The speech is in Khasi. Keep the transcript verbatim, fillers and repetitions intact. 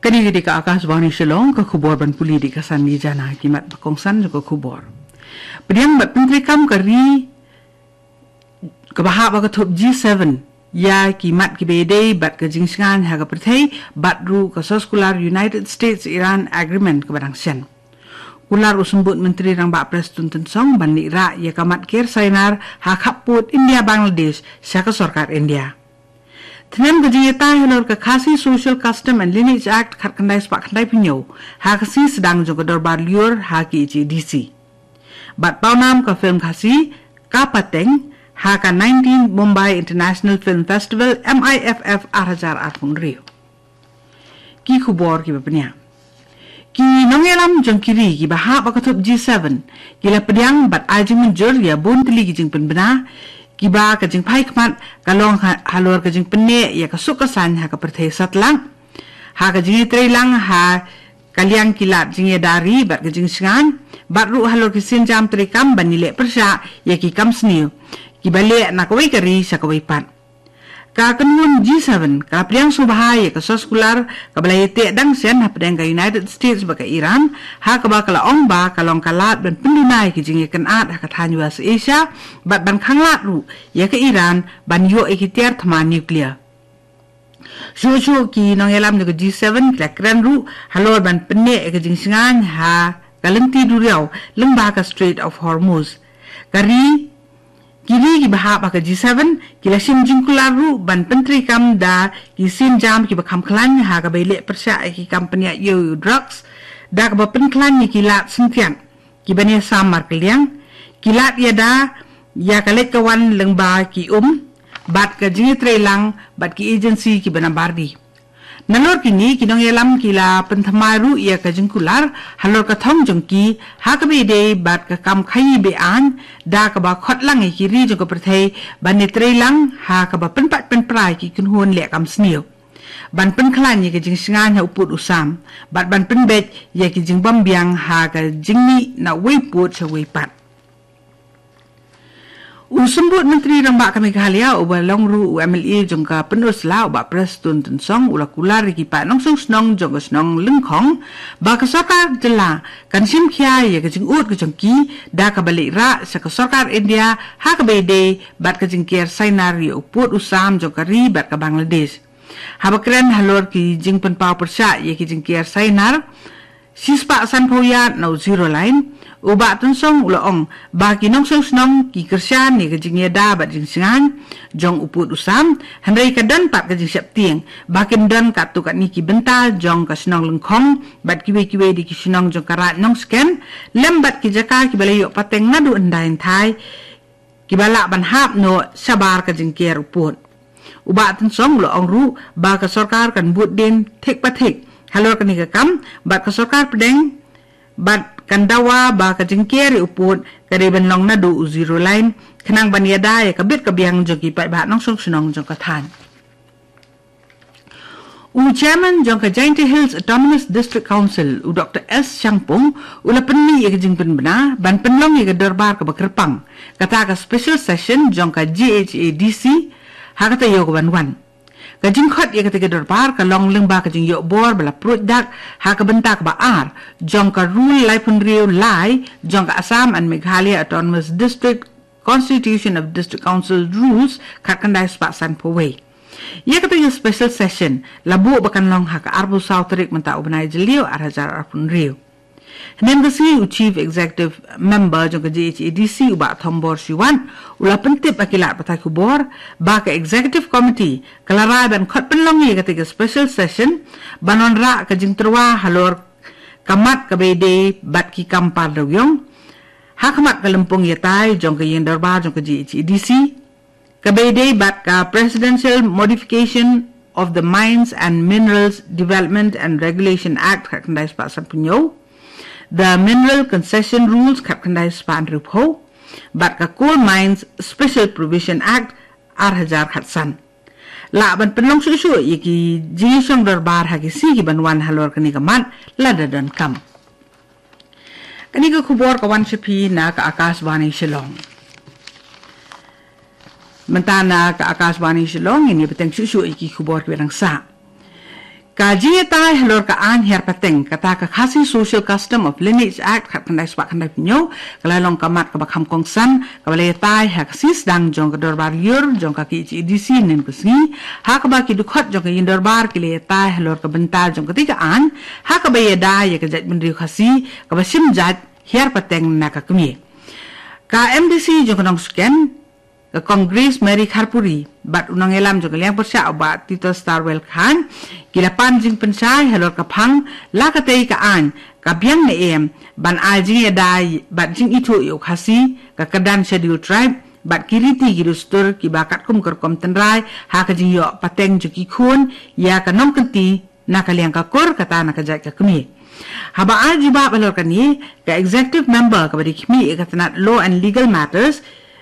Kane ka dei ka Akashvani Shillong, ka khubor ban pule da ka Sandy Jana. Ki mat ba kongsan jong ka khubor. Pdiang bad pyntreikam ka ri kaba hap ha ka thup G seven ïa ki mat kiba ïadei bad ka jingshngaiñ ha ka pyrthei bad ruh ka soskular United States Iran Agreement kaba dang shen. Kular u Symbud Myntri Rangbah Prestone Tynsong ban leit rah ïa ka mat ker Sainar ha khappud India Bangladesh sha ka sorkar India. Tnem ka jingïatai halor ka Khasi Social Custom and Lineage Act khatkhyndai spah khyndaiphew hynñiew ha ka sngi sdang jong ka Dorbar Lyiur ha K H A D C. Bad pawnam ka film Khasi Ka Pateng ha ka nineteen Mumbai International Film Festival, M I F F, ar hajar arphew hynriew. Ki khubor kiba pynïaid. Ki nongïalam jong ki ri kiba hap ha ka thup G seven ki la pdiang bad ai jingmynjur ïa bun tylli ki jingpynbna kiba ka jingphai khmat ka long ha-, halor ka jingpynneh ïa ka suk ka saiñ ha ka pyrthei satlak, ha ka jingïatreilang ha ka liang ki lad jingïada ri bad ka jingshngaiñ, bad ruh halor ki sienjam treikam ban ïaleh pyrshah ïa ki kam sniew kiba leh na kawei ka ri sha kawei pat. Ka kynhun G seven ka la pdiang sngewbha ïa ka soskular kaba la ïateh dang shen hapdeng ka United States bad ka Iran, ha kaba ka la ong ba ka long ka lad ban pynduna ïa ki jingïakynad ha ka thaiñ West Asia bad ban khanglad ruh ïa ka Iran ban ïoh ïa ki tiar thma nuclear. Shuh shuh ki nongïalam jong ka G seven ki la kren ruh halor ban pynneh ïa ka jingshngaiñ ha ka lynti duriaw lyngba ka Strait of Hormuz. Ka ri Ki ri kiba hap ha ka G seven ki la shim jingkular ruh ban pyntreikam da ki sienjam kiba kham khlaiñ ha kaba ïaleh pyrshah ïa ki kam pynïaid ïew drugs, da kaba pynkhlaiñ ïa ki lad synthiat kiba ïasam markylliang, ki lad ïada ïa ka leit ka wan lyngba ki um, bad ka jingïatreilang bad ki agency kiba nabar ri. Nalor kine ki nongïalam ki la pynthymmai ruh ïa ka jingkular halor ka thong jong ki ha kaba ïadei bad ka kam khaïi be-aiñ, da kaba khot lang ïa ki ri jong ka pyrthei ban ïatreilang ha kaba pynpait pynpra ïa ki kynhun leh kam sniew, ban pynkhlaiñ ïa ka jingshngaiñ ha u pud u sam, bad ban pynbeit ïa ki jingbym biang ha ka jingmih na uwei u pud sha uwei pat. U Symbud Myntri Rangbah ka Meghalaya uba long ruh u M L A jong ka Pynursla, u Bah Prestone Tynsong, u la kular ïa ki paid nongshong shnong jong ka shnong Lyngkhong ba ka sorkar jylla kan shim khia ïa ka jingud ka jong ki da kaba leit rah sha ka sorkar India ha kaba ïadei bad ka jingker Sainar ïa u pud u sam jong ka ri bad ka Bangladesh. Haba kren halor ki jingpynpaw pyrshah ïa ki jingker Sainar shispah sanphew yard na u zero line, u Bah Tynsong u la ong ba ki nongshong shnong ki kyrshan ïa ka jingïada bad jingshngaiñ jong u pud u sam, hynrei ka don pat ka jingsheptieng ba kin don katto katne ki bynta jong ka shnong Lyngkhong bad kiwei kiwei de ki shnong jong ka Raid Nongshken, lem bad ki jaka kiba la ïoh pateng naduh hyndai hynthai, kiba lah ban hap noh shabar ka jingker u pud. U Bah Tynsong u la ong ruh ba ka sorkar kan bud dien thik pa thik halor kane ka kam, bad ka sorkar pdeng bad kan dawa ba ka jingker ïa u pud ka dei ban long naduh u zero line, khnang ban ïada ïa ka bit ka biang jong ki paidbah nongshong shnong jong ka thaiñ. U Chairman jong ka Jaintia Hills Autonomous District Council, u Doktor S Shangpung, u la pynmih ïa ka jingpynbna ban pynlong ïa ka dorbar kaba kyrpang, kata ka special session jong ka J H A D C ha ka taïew ka ban wan. Ka jingkhot ïa kata ka dorbar ka long lyngba ka jingïoh bor ba la pruid dak ha ka bynta kaba ar jong ka Rule laiphew hynriew lai jong ka Assam and Meghalaya Autonomous District Constitution of District Council Rules khatkhyndai spah sanphew wei. Ïa kata ka special session la buh ba kan long ha ka arphew saw tarik mynta u bnai Jylliew ar hajar arphew hynriew. Hynnin ka sngi u Chief Executive Member jong ka J H A D C, u Bah Thombor Shiwat, u la pyntip ha ki lad pathai khubor ba ka Executive Committee ka la rai ban khot pynlong ïa kata ka special session ban wanrah ka jingtyrwa halor ka mat kaba ïadei bad ki kam par dewiong ha khmat ka lympung ïatai jong ka ïing dorbar jong ka J H A D C, kaba ïadei bad ka Presidential Modification of the Mines and Minerals Development and Regulation Act khatkhyndai spah sanphew hynñiew, the Mineral Concession Rules khatkhyndai spah hynriewphew, bad ka Coal Mines Special Provision Act ar hajar khatsan. Lah ban pynlong shuh shuh ïa ki jingïashong dorbar ha ki sngi ki ban wan halor kane ka mat lada donkam. Kane ka khubor ka wan sha phi na ka Akashvani Shillong. Mynta na ka Akashvani Shillong, ngin ïa bteng shuh shuh ïa ki khubor kiba dang sah. Ka jingïatai halor ka aiñ hiar pateng, kata ka Khasi Social Custom of Lineage Act khatkhyndai spah khyndai phew hynñiew, ka la long ka mat kaba kham kongsan, kaba la ïatai ha ka sisdang jong ka dorbar ïur jong ka K H A D C hynnin ka sngi, ha kaba ki dkhot jong ka ïing dorbar ki la ïatai halor ka bynta jong katei ka aiñ, ha kaba ïada ïa ka jaitbynriew Khasi kaba shim jait hiar pateng na ka kmie. Ka M D C jong ka Nongshken, ka Kong Grace Mary Kharpuri bad u nongïalam jong ka liang pyrshah u Bah Titosstarwell Chyne, ki la pan jingpynshai halor ka phang la katei ka aiñ ka biang ne em ban ai jingïada bad jingithuh ïa u Khasi, ka kyrdan Scheduled Tribe bad ki riti ki dustur kiba katkum ka rukom tynrai ha ka jingïoh pateng jong ki khun ïa ka nongkynti na ka liang ka kur, kata na ka jait ka kmie. Haba ai jubab halor kane, ka Executive Member kaba dei khmih ïa ka tnat Law and Legal Matters,